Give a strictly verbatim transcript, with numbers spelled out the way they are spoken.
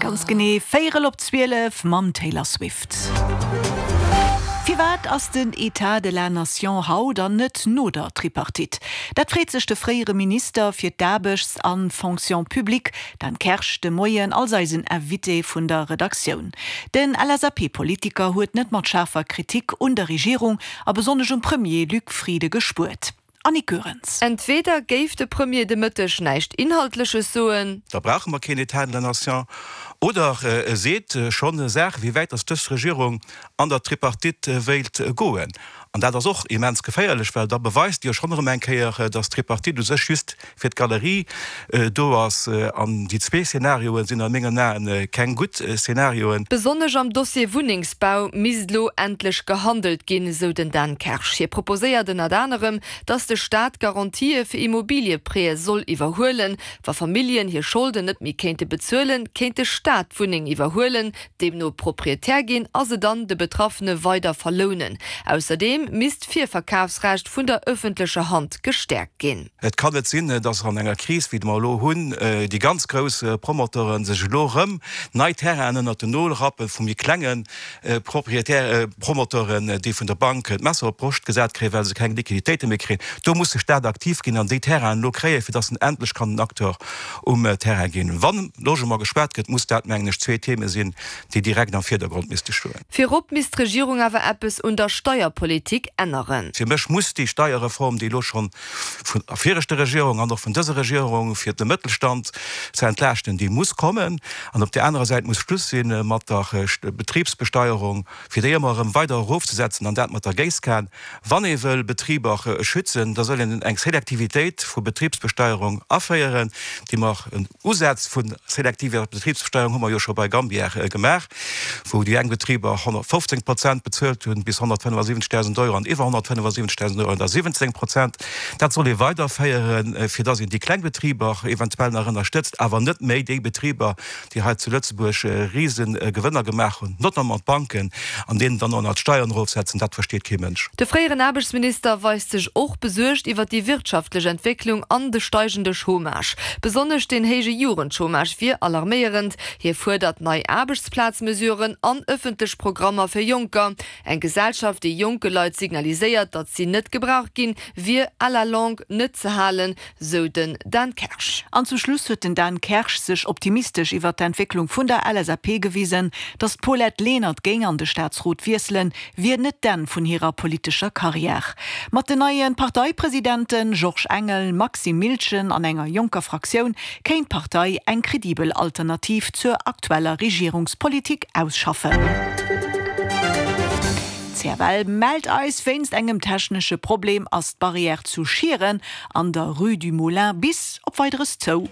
Ganz genee véierel op zwielef mam Taylor Swift. Firwat ass den État de la Nation haut an net no der Tripartite? Dat freet sech de fréiere Minister fir d'Aarbechts an Fonction publique, Dan Kersch, de Moien als eisen Invité vun der Redaktioun. Den L S A P-Politiker huet net mat schaarfer Kritik un der Regierung a besonnesch um Premier Luc Frieden gespuert. Annick Goerens. Entweder géif de Premier de Mëtteg näischt Inhaltleches soen. Da brauche mer keen État de la Nation. Oder e seet schonn Saachen, wéi wäit dass dës Regierung an der Tripartite wéilt goen. An dat ass och immens geféierlech, well da beweist Dir schonn erëm eng Kéier, dass d'Tripartite u sech just fir d'Galerie do ass. An déi zwee Szenarioe sinn a mengen Aen keng gutt Szenarioen. Besonnesch am Dossier Wunnengsbau misst lo endlech gehandelt ginn, sou den Dan Kersch. Hie proposéiert ënnert anerem, dass de Staat Garantië fir Immobilieprêtë soll iwwerhuelen. Wa Familljen hir Scholden net méi kéinte bezuelen, kéint de Staat d'Wunneng iwwerhuelen, deemno Proprietär ginn a se dann de Betraffene weider verlounen. Ausserdeem misst d'Virverkafsrecht vun der ëffentlecher Hand gestäerkt ginn. Et kann net sinn, dass an enger Kris, wéi mer elo hunn, déi ganz grouss Promoteure sech elo erëm nei Terrainen ënnert den Nol rappe vu méi klenge Propriétaire, Promoteuren, déi vun der Bank d'Messer op d'Broscht gesat kréien, well se keng Liquiditéite méi kréien. Do muss de Staat aktiv ginn an déi Terrainen elo kréien, fir dass en endlech kann en Acteur um Terrain ginn. Wann Logement gespuert gëtt, muss dat, mengen ech, zwee Theme sinn, déi direkt am Virdergrond misste stoen. Virop misst d'Regierung awer eppes un der Steierpolitik änneren. Fir mech muss déi Steierreform, déi elo schonn vun der viregter Regierung an och vun dëser Regierung fir de Mëttelstand ze entlaaschten, déi muss kommen. An op där anerer Säit muss Schluss si mat der Betribsbesteierung, fir déi ëmmer erëm weider erofzesetzen, an dat mat der Géisskan. Wann ee wëll Betriber schützen, da soll een eng Selektivitéit vu Betribsbesteierung aféieren, déi mer en Usaz vu selektiver Betribsbesteierung hu mer jo scho bei Gambier gemaach, wou déi eng Betriber honnertfofzéng Prozent bezuelt hunn, bis honnertfënnefasiwwenzegdausend Euro an iwwer honnertfënnefasiwwenzegdausend Euro da siwwenzéng Prozent. Dat soll ee weiderféieren, fir dass een déi kleng Betriber eventuell nach ënnerstëtzt, awer net méi déi Betriber, déi hei zu Lëtzebuerg Risegewënner gemaach hunn, notamment d'Banken, an deenen dann och nach d'Steieren erofsetzen, dat versteet kee Mënsch. De fréieren Aarbechtsminister weist sech och besuergt iwwer déi wirtschaftlech Entwécklung an de steigende Chômage. Besonnesch den héije Jugendchômage wier alarméierend. Hie fuerdert nei Aarbechtsplazmesuren an ëffentlech Programmer fir Jonker. Eng Gesellschaft, déi jonke Leit signaliséiert, datt si net gebraucht ginn, wier à la longue net ze halen, sou den Dan Kersch. An zum Schluss huet den Dan Kersch sech optimistesch iwwer d'Entwécklung vun der L S A P gewisen. Datt d'Paulette Lenert géing an de Staatsrot wiesselen, wier net d'Enn vun hirer politescher Karriär. Mat den neie Parteipresidenten Georges Engel, Maxime Miltgen an enger jonker Fraktioun kéint d'Partei eng kredibel Alternativ zur aktueller Regierungspolitik ausschaffen. C F L mellt eis, wéinst engem technesche Problem ass d'Barrière zu Schieren an der Rue du Moulin bis op Weideres zou.